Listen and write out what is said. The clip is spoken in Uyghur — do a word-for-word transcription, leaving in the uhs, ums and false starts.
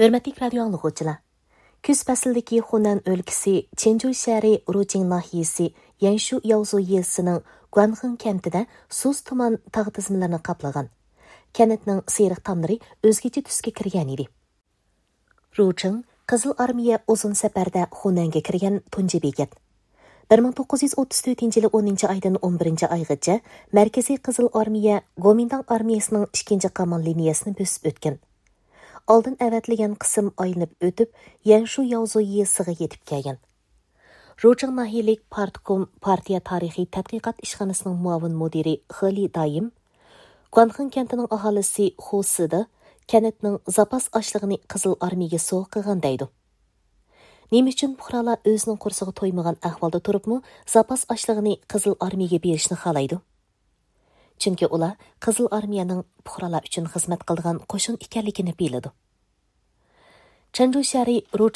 ھۆرمەتلىك رادىيو ئاڭلىغۇچىلار! كۈز پەسلىدىكى خۇنەن ئۆلكىسى چېنجۇ شەھىرى رۇچىڭ ناھىيەسى يەنشۇ ياۋزۇ يېزىسىنىڭ گۇەنخېڭ كەنتىدە سۇس تۇمان تاغ تىزمىلىرىنى قاپلىغان. كەنتنىڭ سېرىق تاملىرى ئۆزگىچە تۈسكە كىرگەن ئىدى. رۇچىڭ قىزىل ئارمىيە ئۇزۇن سەپەردە خۇنەنگە كىرگەن تۇنجى بېكەت. بىر مىڭ توققۇز يۈز ئوتتۇز تۆتىنچى يىلى ئونىنچى ئايدىن ئون بىرىنچى ئايغىچە مەركىزىي قىزىل ئارمىيە گومىنداڭ ئارمىيەسىنىڭ ئىككىنچى قامال لىنىيەسىنى بۆسۈپ ئۆتكەن. ئالدىن ئەۋەتىلگەن قىسىم ئايلىنىپ ئۆتۈپ، يەنشۇ ياۋزۇ يېزىسىغا يېتىپ كەلگەن. رۇچىڭ ناھىيەلىك پارتكوم پارتىيە تارىخىي تەتقىقات ئىشخانىسىنىڭ مۇئاۋىن مۇدىرى خېلى دايىم، گۇەنخېڭ كەنتىنىڭ ئاھالىسى خۇ سىدا كەنتنىڭ زاپاس ئاشلىقىنى قىزىل ئارمىيەگە سوۋغا قىلغان دەيدۇ. نېمە ئۈچۈن پۇقرالار ئۆزىنىڭ قورسىقى تويمىغان ئەھۋالدا تۇرۇپمۇ زاپاس ئاشلىقىنى قىزىل ئارمىيەگە بېرىشنى خالايدۇ؟ چۈنكى ئۇلار قىزىل ئارمىيەنىڭ پۇقرالار ئۈچۈن خىزمەت قىلىدىغان قوشۇن ئىكەنلىكىنى بىلىدۇ. چېنجۇ شەھىرى رۇچ